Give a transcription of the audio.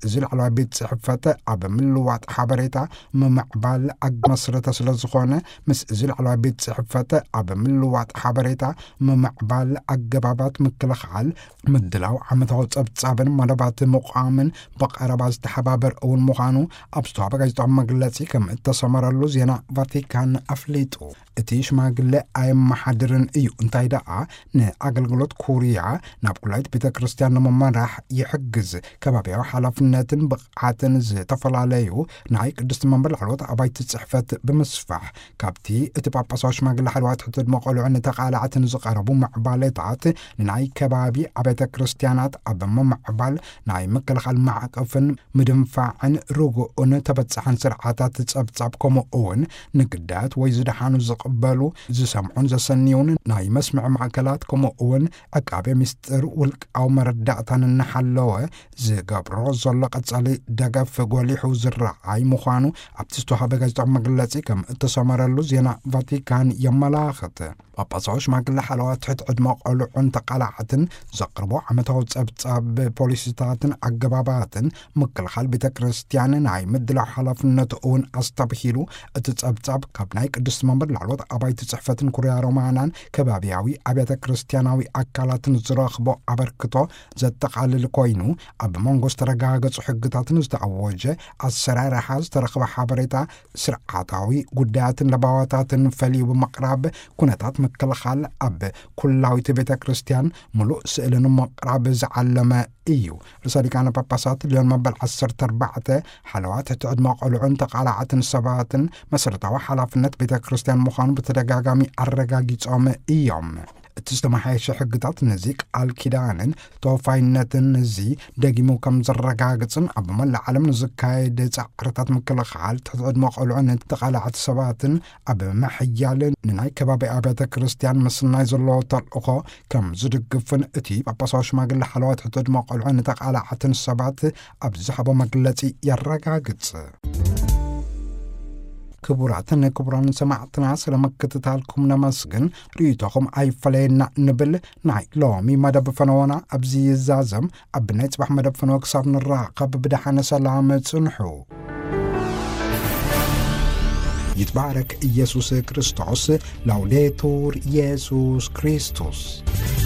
እዚ ላዕለዋይ ቤት ጽሕፈት ኣብ ምልዋጥ ሓበሬታ ምምዕባል ኣግ-፣ መስረተ ስለ ዝኾነ፣ ምስ እዚ ላዕለዋይ ቤት ጽሕፈት ኣብ ምልዋጥ ሓበሬታ ምምዕባል ኣገባባት ምክልኻል፣ ምድላው ዓመታዊ ጸብጻብን መደባት ምቋምን ብቐረባ ዝተሓባበር እውን ምዃኑ ኣብ ዝተዋህበ ጋዜጣዊ መግለጺ ከም እተሰመረሉ ዜና ቫቲካን ኣፍሊጡ። እቲ ሽማግለ ኣየመሓድርን እዩ፣ እንታይ ደኣ ንኣገልግሎት ኩርያ ናብ ኩላይት ቤተ ክርስቲያን ንምመራሕ ይሕግዝ፣ ከባብያዊ ሓላፍነትን ብቕዓትን ዝተፈላለዩ ናይ ቅድስቲ መንበር ላዕለዎት ኣባይቲ ጽሕፈት ብምስፋሕ፣ ካብቲ እቲ ጳጳሳዊ ሽማግለ ሓለዋ ትሕቲ ዕድመ ቆልዑ ንተቓላዕትን ዝቐረቡ ምዕባለታት ንናይ ከባቢ ኣብያተ ክርስቲያናት ኣብ ምምዕባል ናይ ምክልኻል ማዕቀፍን ምድንፋዕን ርጉእን ተበጻሕን ስርዓታት ጸብጻብ፣ ከምኡ እውን ንግዳያት ወይ ዝደሓኑ ዝቕበሉ፣ ዝሰምዑን ዘሰንዩን ናይ መስምዒ ማእከላት፣ ከምኡ እውን ዕቃቤ ምስጢር ውልቃዊ መረዳእታን እናሓለወ ዝገብሮ ዘሎ ቀጻሊ ደገፍ ጎሊሑ ዝረኣይ ምዃኑ ኣብቲ ዝተዋህበ ጋዜጣዊ መግለጺ ከም እተሰመረሉ ዜና ቫቲካን የመላኽት። ጳጳሳዊ ሽማግለ ሓለዋ ትሕቲ ዕድመ ቆልዑን ተቓላዕትን ዘቕርቦ ዓመታዊ ጸብጻብ ፖሊሲታትን ኣገባባትን ምክልኻል ቤተ ክርስቲያን ናይ ምድላው ሓላፍነቱ እውን ኣስተብሂሉ፣ እቲ ጸብጻብ ካብ ናይ ቅድስቲ መንበር ላዕለዎት ኣባይቲ ጽሕፈትን ኩርያ ሮማናን ከባብያዊ ኣብያተ ክርስቲያናዊ ኣካላትን ዝረኽቦ ኣበርክቶ ዘጠቓልል ኮይኑ፣ ኣብ መንጎ ዝተረጋገጹ ሕግታትን ዝተኣወጀ ኣሰራርሓ ዝተረኽበ ሓበሬታ፣ ስርዓታዊ ጉዳያትን ለባዋታትን ፈልዩ ብምቕራብ፣ ኩነታት ምክልኻል ኣብ ኩላዊት ቤተ ክርስቲያን ምሉእ ስእሊ ንምቕራብ ዝዓለመ እዩ። ርእሰ ሊቃነ ጳጳሳት ሊዮን መበል ዓሰርተ ኣርባዕተ ሓለዋ ትሕቲ ዕድመ ቆልዑን ተቓላዕትን ሰባትን መሰረታዊ ሓላፍነት ቤተ ክርስቲያን ምዃኑ ብተደጋጋሚ ኣረጋጊጾም እዮም። እቲ ዝተመሓየሸ ሕግታት ነዚ ቃል ኪዳንን ተወፋይነትን እዚ ደጊሙ ከም ዘረጋግጽን፣ ኣብ መላእ ዓለም ንዝካየድ ጻዕርታት ምክልኻል ትሕቲ ዕድመ ቆልዑ ንተቓላዕቲ ሰባትን ኣብ ምሕያል ንናይ ከባቢ ኣብያተ ክርስቲያን ምስናይ ዘለዎ ተልእኾ ከም ዝድግፍን እቲ ጳጳሳዊ ሽማግለ ሓለዋ ትሕቲ ዕድመ ቆልዑ ንተቓላዕትን ሰባት ኣብ ዝሃቦ መግለጺ የረጋግጽ። ክቡራትን ክቡራን ሰማዕትና፣ ስለ ምክትታልኩም ነመስግን። ርእይቶኹም ኣይፈለየና ንብል። ናይ ሎሚ መደብ ፈነወና ኣብዚ ይዛዘም። ኣብ ናይ ጽባሕ መደብ ፈነወ ክሳብ ንራኸብ ብደሓነ ሰላም ጽንሑ። ይትባረክ ኢየሱስ ክርስቶስ። ላውዴቱር ኢየሱስ ክርስቶስ።